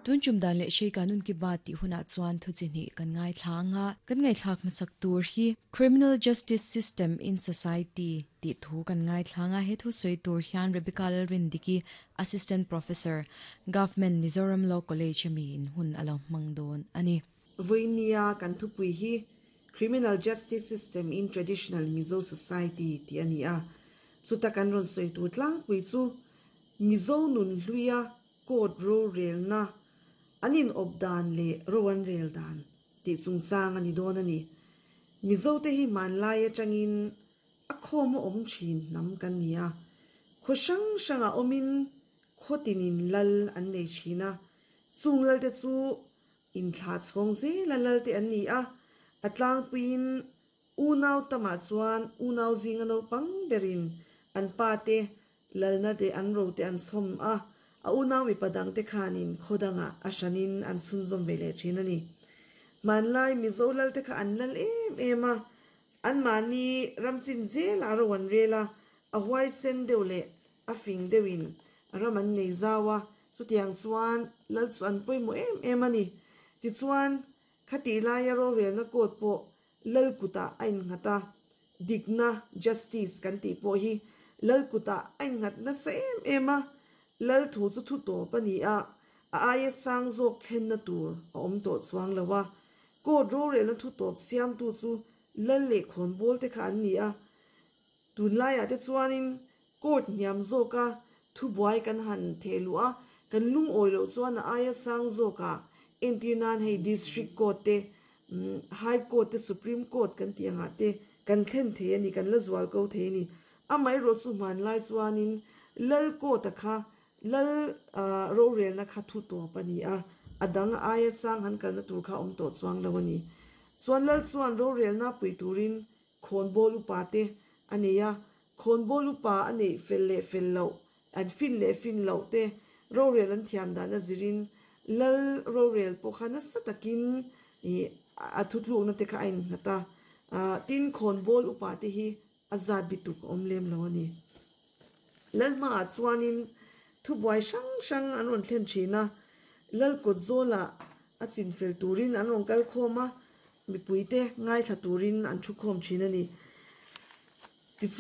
Tun tum dan leh Hrei Kanun Ki Baat tih hunah chuan thu chi hnih kan ngaithla ang a, kan ngaihthlak hmasak tur hi Criminal Justice System in Society tih thu kan ngaithla ang a, he thu sawi tur hian Rebecca Lalrindiki, Assistant Professor, Government Mizoram Law College a miin hun a lo hmang dawn a ni. Vawinia kan thupui hi Criminal Justice System in Traditional Mizo Society tih a ni a, chuta kan rawn sawi tur tlangpui chu Mizo nun hluia Court rorelna, an inawp dan leh ro an rel dan tih chungchang a ni dawn a ni. Mizote hi hmanlai atangin a khawm a awm thin hnam kan ni a, khaw hrang hrangah awmin khaw tinin lal an nei thin a, chung lalte chu inthlah chhawng zela lalte an ni a, a tlangpuiin Unau tamah chuan unau zinga naupang berin an pa te lalna te an ro te an chhawm a, a unau mipa dangte khanin khaw dangah a hranin an chhunzawm ve leh thin a ni. Hmanlai Mizo lalte kha an lal em em a, anmahni ramchin zelah ro an rel a, a huaisen deuh leh a fing deuhin ram an nei zau a, chutiang chuan lal chu an pawimawh em em a ni. Tichuan, khatih laia rorelna court pawh Lal kutah a innghat a, dikna, justice, kan tih pawh hi Lal kutah a innghat nasa em em a, Lal thu chu thu tawp a ni a, a aia sang zawk thlenna tur a awm tawh chuang lo a, court rorelna thu tawp siamtu chu Lal leh khawnbawl te kha an ni a, Tunlaiah te chuanin court hniam zawka thubuai kan han theh luh a, kan lungawi loh chuan a aia sang zawkah entir nan hei district court te, high court te, supreme court kan tih angah te kan thlen thei a ni, kan la zual ko thei a ni. Amaherawhchu chu hmanlai chuanin lal court a kha lal rorelna kha thu tawp a ni a, a dang aia sang han kalna tur kha a awm tawh chuang lo a ni. Chuan lal chuan rorelna pui turin Khawnbawl upa te a nei a, khawnbawl upa a neih fel leh fel loh, an fin leh fin loh te rorel an thiam dan a zirin lal rorel pawh kha nasa takin ih a thutlukna te kha a innghat a, tin khawnbawl upa te hi a zat bituk a awm lem lo a ni. Lal hmaah chuanin thubuai hrang hrang an rawn thlen thin a, Lal kawt zawlah a chin fel turin an rawn kal khawm a, mipuite ngaithla turin an thu khawm thin a ni. Tichuan.